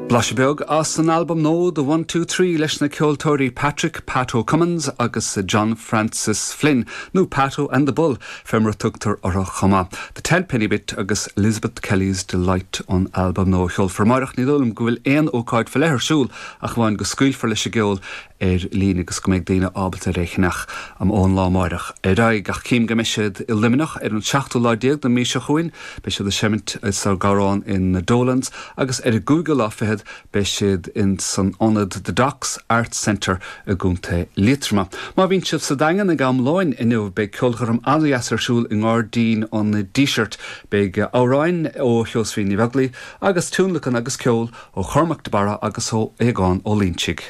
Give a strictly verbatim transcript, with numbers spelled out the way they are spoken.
Blaiseadh beag as an albam nua The One Two Three leis na ceoltóirí Patrick Pato Cummins agus John Francis Flynn nó Pato and the Bull fé mar a tugtar orthu chomh maith. The Ten Penny Bit agus Elizabeth Kelly's Delight an albam nua ceolfar amárach ní dóigh liom go bhfuil aon ócáid faoi leith ar siúl ach amháin go scaoilfear leis an gceol ar líne agus go mbeidh daoine ábalta é a cheannach am ón lá amárach. Ar aghaidh ach cím go mbeidh siad i Luimneach ar an seachtú lá déag den mhí seo chugainn, beidh siad ag seimint sa Gharrán in Dolan's agus ar an gcúigiú lá fichead beidh siad in san ionad The Docks Arts Centre i gContae Liatroma. Má bhíonn sibh sa Daingean ag am lóin inniu beidh ceolchoirm an-deas ar siúl i nGairdín an Dísirt, beidh amhráin ó Sheosaimhín Ní Bheaglaoich agus tionlacan agus ceol ó Chormac de Barra agus ó Aogán Ó Loingsigh.